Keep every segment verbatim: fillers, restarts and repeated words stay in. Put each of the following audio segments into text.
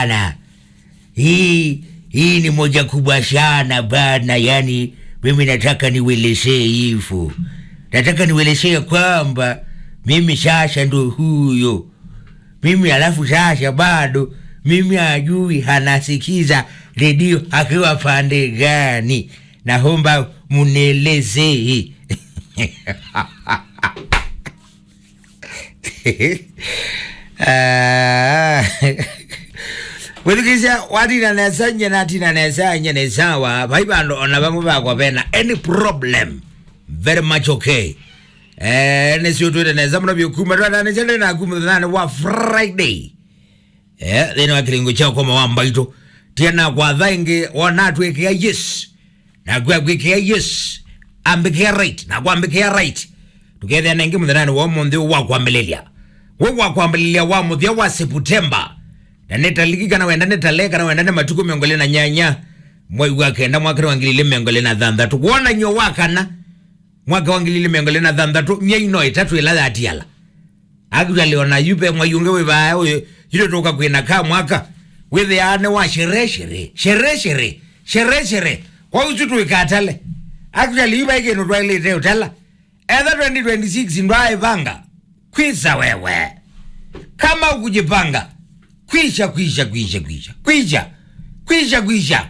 sana. Hii, hii ni moja kubwa sana bana, yani mimi nataka niwelezee hivyo. Nataka niwelezee kwamba mimi sasa ndo huyo. Mimi alafu sasa bado, mimi ajui anasikiza redio akiwa pande gani. Naomba munielezee. Ah. Wĩthukĩĩsya, watina nesa, nye natina nesa, nye nĩ sawa. Vai vandũ ona vamwe vakwa vena any problem. Very much okay. Eh, nĩsyo twĩte nesa mũno vyũ kuma twatanĩsya ndĩ naku mũthenyanĩ wa Friday. Eh, thĩnĩ wa kĩlingo kya ũkoma wa mbaitũ. Tia na kwatha ĩngĩ, wona atwĩkĩa yes. Naku akwĩkĩa yes. Ambĩkĩa right. Naku ambĩkĩa right. Tũkethĩa nengĩ mũthenyanĩ wa ũmũnthĩ wa kwambĩlĩlya. We wa kwambĩlĩlya wa mũthya wa September. Na nĩ taliki kana wenda nĩ tale kana wenda nĩ matukũ mĩongo ĩlĩ na nyanya. Mwai wa kenda mwaka wa ngili ilĩ mĩongo ĩlĩ na thanthatũ. Kwonany'o wa kana. Mwaka wa ngili ilĩ mĩongo ĩlĩ na thanthatũ, myei no ĩtatũ ĩla yatiala. Actually, ona yu ve mwai ũngĩ wĩ vaa ũyũ, yu tũka kwĩna ka mwaka, wĩthĩaa nĩ wa sherehe, sherehe, sherehe, sherehe, sherehe. Kwa ũsu tũikatale. Actually, yu vai kĩndũ twaĩlĩte ũtala. Etha twenty twenty-six ndwaĩvanga, kwisa wewe. Kama ukujipanga, kwisha, kwisha, kwisha, kwisha, kwisha, kwisha, kwisha.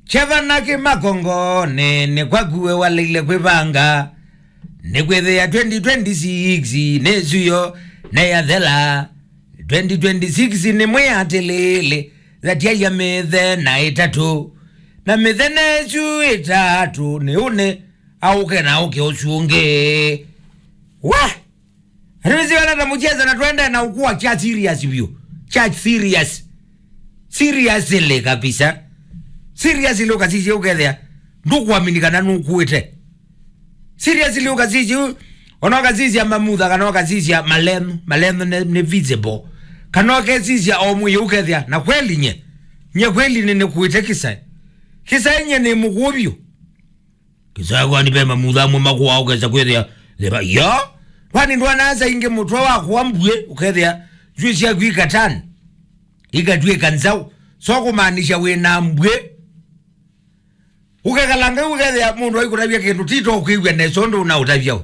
Cheva na kĩmakongo, nĩ, nĩ kwaku we waleile kwĩvanga. Nĩkwĩthĩa twenty twenty-six nĩsuyo neyathela. Twenty twenty-six nĩ mwĩ atĩlĩlĩ, thatyaia mĩthenya ĩtatũ. Na mĩthenya ĩsu ĩtatũ nĩ ũne aũke na aũke ũsu ũngĩ. Wa! Rĩu sio na mũcheza na twende na ũkua cha serious view. Cha serious. Seriously kabisa. Seriously ũkasisya ũkethĩa. Ndũkwamini kana nũkuĩte. Seriously ũkasisya, ona ũkasisya mamutha kana ũkasisya malenũ, malenũ nĩ, nĩ visible. Kana ũkesisya o mwĩĩ ũkethĩa, na kweli nye, nye kweli nĩ, nĩkuĩte kĩsaĩ. Kĩsaĩ nye nĩ mũkũũ vyũ. Kĩsaĩ kwani ve mamutha amwe makũaa ũkesa kwĩthĩa, thĩva, yo? Kwani ndwanasa ingĩ mũtwe wakwa mbuĩ, ũkethĩa, njuĩ syaku ikatani, ikatw'ĩka nzaũ. So kũmaanisha wĩ na mbuĩ. Ũkekalanga ũkethĩa mũndũ aikũtavya kĩndũ, ti to kwĩw'a nesa ũndũ ũnaũtavya we.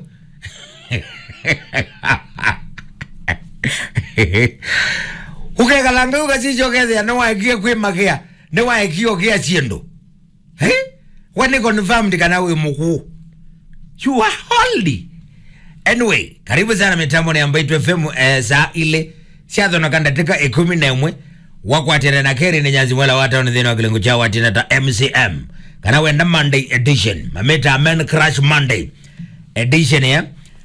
Ũkekalanga ũkasisya ũkethĩa nĩwaekie kwĩmakĩa, nĩwaekie ũkĩa syĩndũ. Eh? We nĩ confirmed kana wĩ mũkũũ. You are old. Anyway, karibu sana mitamboni ya Mbaitu F M, eh, saa ilĩ syathonoka ndatĩka ĩkũmi na ĩmwe. Wakwatĩana na Kerĩ nĩ Nyanzi Mwela wa Town thĩnĩ wa kĩlungu kya Watina ta M C M. Kana wenda Monday edition. Mamĩta Men Crush Monday edition, eh?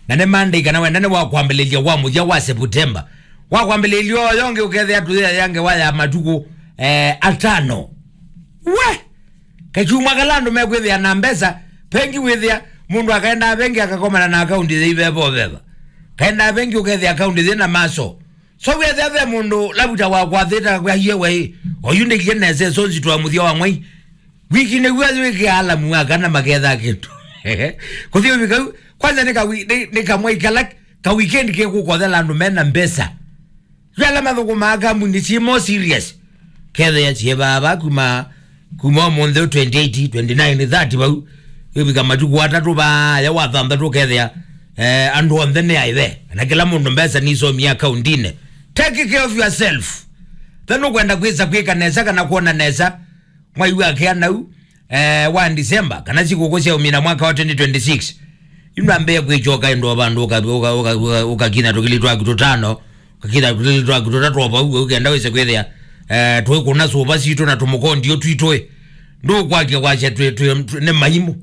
Na nĩ Monday kana wenda nĩ wa kwambĩlĩlya wa mũthya wa September. Wa kwambĩlĩlya ũyo ũngĩ ũkethĩa tũyĩayange wa ya matukũ, eh, atano. We! Kachumwa kala andũ mekwĩthĩa na mbesa, pengi wĩthĩa, mũndũ akaendaa pengi akakomana na akaunti yĩ veva veva. Kaendaa pengi ũkethĩa akaunti yĩ na maso. So wĩthĩa ve mũndũ lavuta wa kwathĩta kwaiye wei, oyu ndĩkie nesa ĩsonzi twa mũthya wa mwai. Wiki nĩw'o wĩkĩa alamu wa kana maketha kĩndũ. Kũthi ũvika u, kwanza nĩ kawi-, nĩ, nĩ kamwai kala ka weekend kekũkothela andũ mena mbesa. Yu ala mathũkũmaa kambuni syĩ more serious. Kethĩa syĩ vaa kuma, kuma ũmũnthĩ twenty-eight, twenty-nine, thirty vau. Ĩvika matukũ atatũ vaa ya wa thanthatũ ũkethĩa, eh, andũ onthe nĩ aĩve. Na kĩla mũndũ mbesa nisomie akaundinĩ. Take care of yourself. Then ũkwenda kwĩsa kwĩka nesa kana kwona nesa. Mwai wa kĩa nau, eh, wa December, kana sikũkũ sya ũmina mwaka wa twenty twenty-six. Yu nambĩĩa kwĩkyoka ĩndũ o vandũ ũka-, ũka-, ũka-, ũka-, ũkakinya tũkili twaku tũtano, ũkakinya tũkili twaku tũtatũ o vau, ũkenda wĩse kwĩthĩa, eh, twĩkũna sũva sitũ na tũmũkondio twitũ ĩ. Ndũkwakya kwasya twĩ, twĩ, twĩ, nĩ maimũ.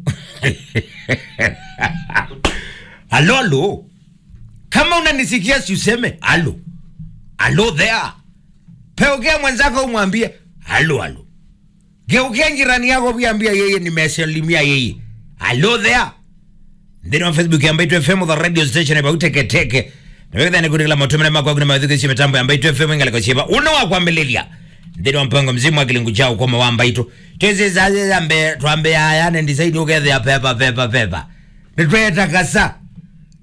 Alo, alo. Kama unanisikia si useme, alo. Alo there. Peukea mwenzako umwambie, alo, alo. Geukia jirani yako pia, ambia yeye nimesalimia yeye. Hello there. Nthĩnĩ wa Facebook ya Mbaitu F M, the radio station about Teke Teke. Na wĩthĩa nĩ kũtĩkĩla matũmĩre makwa kuna mathukĩsyo mĩtambo ya Mbaitu F M ĩngalĩko syĩva. Ũna wa kwambĩlĩlya. Nthĩnĩ wa mpango mzima wa kĩlungu kya ũkoma wa Mbaitũ. Twĩsĩ saa ya mbe, twambe aya, ne design ũkethĩa pepa, pepa, pepa. Nĩtwetakasa.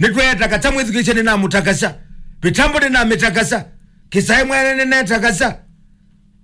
Nĩtwetakasa mwĩthukĩsye nĩnamũtakasa. Mĩtambo nĩnamĩtakasa. Kĩsaĩ mwene nĩnetakasa.